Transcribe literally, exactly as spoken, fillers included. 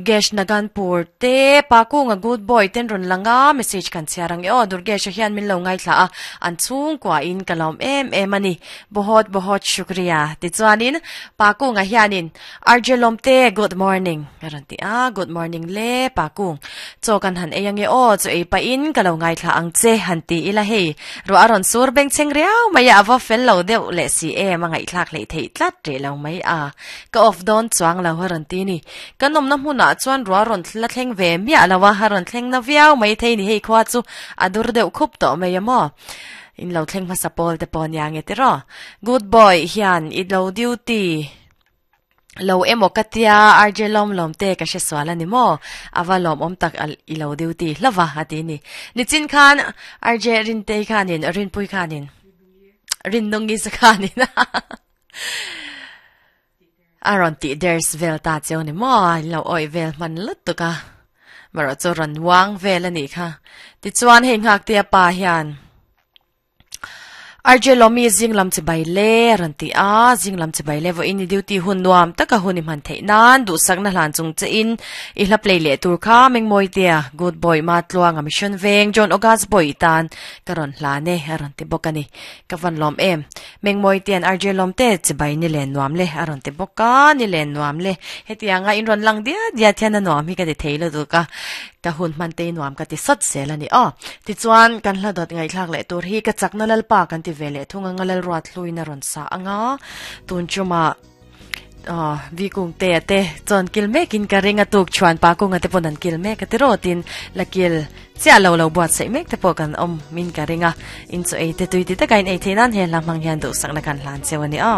Gesh Naganpur te pakunga good boy ten ron langa message kan chiarang e o Durgesh hian min lo ngai thla a an chung kwa in kalom em em ani bohot bohot shukriya ti chuanin pakunga hianin Arjelom te good morning karan ti a good morning le pakung cho kan han eyang e o chu ei pa in kalo ngai thla ang che han ti ila hei ro aron sur beng cheng riau mai awa fel lo deuh le si e mangai thlak lei thei tlat re lo mai a ka off don chuang lo haran ti ni kanom na hmuna chuan ruwa ron thla thleng ve mi alawa haron thleng na viau mai thei ni hei khwa chu adur deuh khup to mai amo in lo thleng hmasa pawl te pawh nia nge tiraw good boy hian i lo duty lo emo katia R J lom lom te ka hre sual ani maw awa lom awm tak i lo duty hlava ati ni nichin khan R J rin te khanin rin pui khanin rin nungi sa khanin aron ti ders vel ta cheu ni maw lo oi vel man lut tuka maro chu ron wang vel ani kha ti chuan hei ngak te pa hian R J Lomi zing lam chi bai le ran ti a zing lam chi bai le vo in duty hun nuam taka hun man thei nan du sak na hlan chung che in i hla play le tur kha mengmoi tia good boy ma tluang a mission veng John August boy tan karon hla ne aron ti bokani ka van lom em mengmoi tian R J Lom te chi bai ni len nuam le aron ti boka ni len nuam le hetianga in ron lang dia dia thian na nuam hi ka ti thei lo du ka ka hun man te nuam ka ti sot sel ani o ti chuan kan hla dot ngai thlak le tur hi ka chakna lal pa kan ti vele thunga ngalal ruat hluina ron sa anga tun chuma ah vi kung te te chon kil mekin ka ringa tuk chuan pa kung ate ponan kil mek ate rotin lakil chia lo lo buat sei mek te po kan om min ka ringa in chu ei te tui ti ta kain ei theinan he lamang hian du sak na kan hlan chewani a.